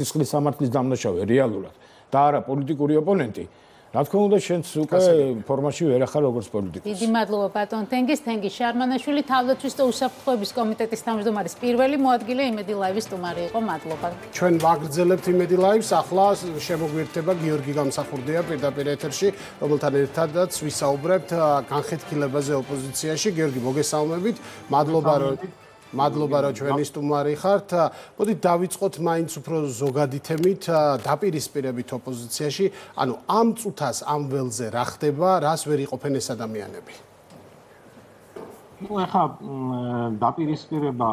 სისხლის სამართლის დამნაშავე რეალურად და არა პოლიტიკური ოპონენტი. Რა თქმა უნდა, შენც უკვე ფორმაში ვერ ახარ როგორც პოლიტიკოსი. დიდი მადლობა ბატონ თენგის შარმანაშვილი თავდაცვის და უსაფრთხოების კომიტეტის თავმჯდომარის პირველი მოადგილე იმედი ლაივის სტუმარი იყო. მადლობა. ჩვენ ვაგრძელებთ იმედი ლაივს, ახლა შემოგვიერთება გიორგი გამსახურდია პირდაპირ ეთერში, რომელთან ერთადაც ვისაუბრებთ განხეთქილებაზე ოპოზიციაში. გიორგი, მოგესალმებით. მადლობა რომ ჩვენი სტუმარი ხართ. მოდით დავიწყოთ მაინც უფრო ზოგადი თემით, დაპირისპირებით ოპოზიციაში. ანუ ამ წუთას ამ ველზე რა ხდება, რას ვერ იყოფენ ეს ადამიანები? ნუ ახლა დაპირისპირება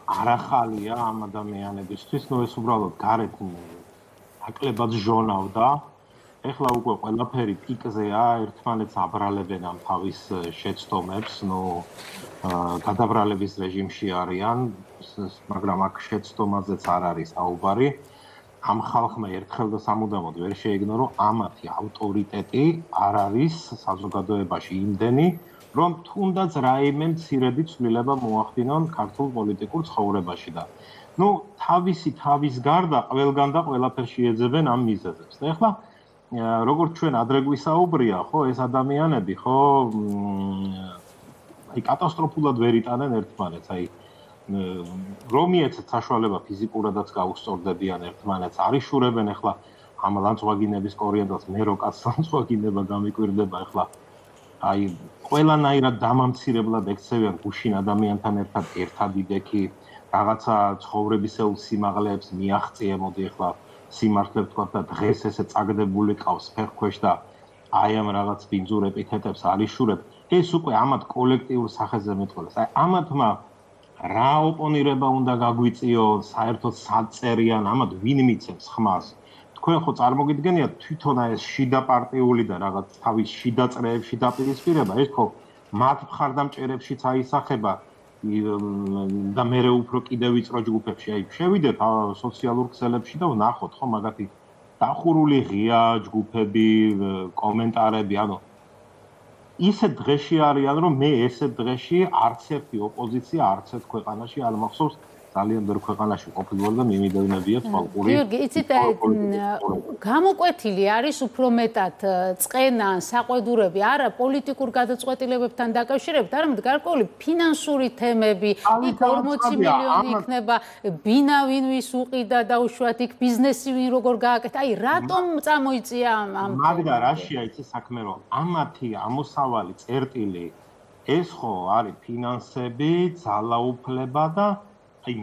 არ ახალია ამ ადამიანებისთვის, ნუ ეს უბრალოდ გარეთ ნაკლებად ჟონავდა. ეხლა უკვე ყველაფერი პიკზეა, ერთმანეთს აბრალებენ ამ თავის შეცდომებს, ნუ გადაბრალების რეჟიმში არიან, მაგრამ აქ შეცდომაზეც არ არის საუბარი. ამ ხალხმა ერთხელ და სამუდამოდ ვერ შეეგნო, რომ ამათი ავტორიტეტი არ არის საზოგადოებაში იმდენი, რომ თუნდაც რაიმე მცირედი ცვლილება მოახდინონ ქართულ პოლიტიკურ ცხოვრებაში და ნუ თავის გარდა ყველგან და ყველაფერში ეძებენ ამ მიზეზებს. და ეხლა როგორც ჩვენ ადრე გვისაუბრია, ხო, ეს ადამიანები, ხო, აი კატასტროფულად ვერ იტანენ ერთმანეთს, აი რომ მიეცეთ საშუალება ფიზიკურადაც გაუსწორდებიან ერთმანეთს, არიშურებენ ეხლა ამ ლანცვაგინების კორიანდელს, მე რო კაც ლანცვაგინება გამიკვირდება ეხლა აი ყველანაირად დამამცირებლად ექცევიან გუშინ ადამიანთან ერთად იდექი რაღაცა ცხოვრებისეულ სიმაღლეებს მიაღწია, მოდი ეხლა სიმართლე ვთქვა და დღეს ესე წაგდებული ყავს ფეხქვეშ და აი ამ რაღაც ბინძურ ეპითეტებს არიშურებ. ეს უკვე ამათ კოლექტიურ სახეზე მეტყველებს. აი ამათმა რა ოპონირება უნდა გაგვიწიოს, საერთოდ საწერიან, ამათ ვინ მიცემს ხმას. თქვენ ხო წარმოგიდგენიათ თვითონ ეს შიდა პარტიული და რაღაც თავის შიდა წრეებში დაპირისპირება, ეს ხო მათ მხარდამჭერებშიც აისახება და მერე უფრო კიდევ ვიწრო ჯგუფებში. აი შევიდეთ სოციალურ ქსელებში და ვნახოთ ხო მაგათი დახურული ღია ჯგუფები, კომენტარები, ანუ ისეთ დღეში არიან, რომ მე ესეთ დღეში არც ერთი ოპოზიცია არც ერთ ქვეყანაში არ მახსოვს ძალიან ბევრ ქვეყანაში ყოფილვარ და მიმიდევნებია თვალყური. გიორგი, იცით გამოკვეთილი არის უფრო მეტად წყენა, საყვედურები, არა პოლიტიკურ გადაწყვეტილებებთან დაკავშირებით, არამედ გარკვეული ფინანსური თემები, იქ 40 მილიონი იქნება, ბინა ვინ ვის უყიდა და უშუალოდ იქ ბიზნესი ვინ როგორ გააკეთა. აი რატომ წამოიწია ამ მაგდა რაშია იცი საქმე, რომ ამათი ამოსავალი წერტილი ეს ხო არის ფინანსები, ძალაუფლება და აი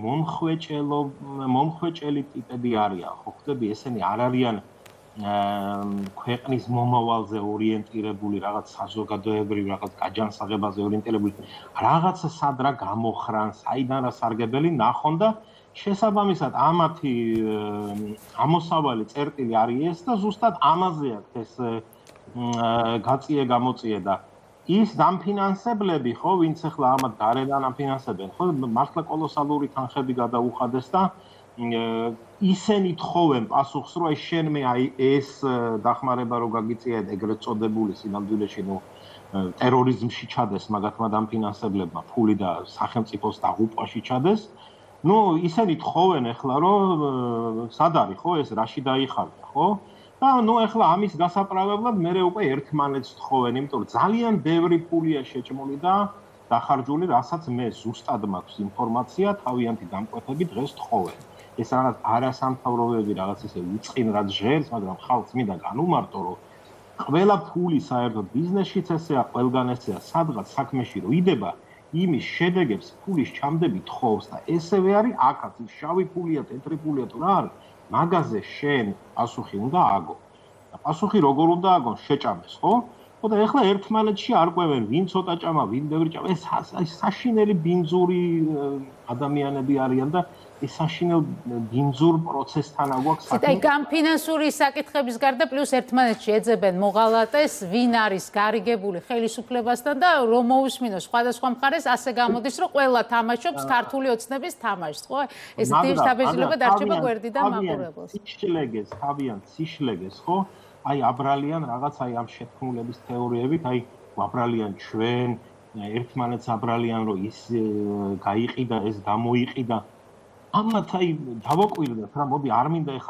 მომხვეჭელი ტიპები არიან, ხო ხდები, ესენი არ არიან ქვეყნის მომავალზე ორიენტირებული, რაღაც საზოგადოებრივ, რაღაც გაჯანსაღებაზე ორიენტირებული, რაღაცა სადრა გამოხრან, საიდან რა სარგებელი ნახონ და შესაბამისად ამათი ამოსავალი წერტილი არის ეს და ზუსტად ამაზე აქვს ეს გაწიე-გამოწიე და ის დამფინანსებლები, ხო, ვინც ახლა ამათ გარედან ამფინანსებენ, ხო, მართლა კოლოსალური თანხები გადაუხადეს და ისინი თხოვენ პასუხს, რომ აი შენ მე აი ეს დახმარება რო გაგიწია ეგრეთ წოდებული სინამდვილეში, ნუ ტერორიზმში ჩადეს მაგათმა დამფინანსებლებმა ფული და სახელმწიფოს დაღუპვაში ჩადეს. ნუ ისინი თხოვენ ახლა, რომ სად არის, ხო, ეს რაში დაიხარდა, ხო? და ნუ ახლა ამის გასაправებლად მე უკვე ერთმანეთს თხოვენ, იმიტომ რომ ძალიან ბევრი ფულია შეჭმული და დახარჯული, რასაც მე ზუსტად მაქვს ინფორმაცია, თავიანთი დამკვეთები დღეს თხოვენ. ეს რაღაც არასამთავრობოები რაღაც ისე უწყინ რაც ჟღერს, მაგრამ ხალხს მინდა განუმარტო, რომ ყველა ფული საერთოდ ბიზნესშიც ესეა, ყველგან ესეა, სადღაც საქმეში რო იდება, იმის შედეგებს ფულის ჩამდები თხოვს და ესევე არის აქაც, ის შავი ფულია, თეთრი ფულია თუ რა არის, მაგაზე შენ პასუხი უნდა აგო. და პასუხი როგორ უნდა აგონ? შეჭამეს, ხო? ხო და ეხლა ერთმანეთში არკვევენ, ვინ ცოტა ჭამა, ვინ ბევრი ჭამა. ეს საშინელი ბინძური ადამიანები არიან და ეს საშინელ ბინძურ პროცესთან აგვაქვს საქმე. აი განფინანსური საკითხების გარდა პლუს ერთმანეთში ეძებენ მოღალატეს, ვინ არის გარიგებული ხელისუფლებასთან და რომ მოусმინოს სხვადასხვა მხარეს, ასე გამოდის, რომ ყველა თამაშობს ქართული ოცნების თამაშს, ხო? ეს დაბეჭდილება დარჩება გვერდი და მაყურებელს. თავიანთ სიშლეგეს, ხო? აი აბრალიან რაღაც აი ამ შეთქმულების თეორიებით, აი აბრალიან ჩვენ ერთმანეთს აბრალიან, რომ ის გაიყიდა, ეს გამოიყიდა. ამათ აი დავაკვირდეთ რა, მოდი არ მინდა ეხა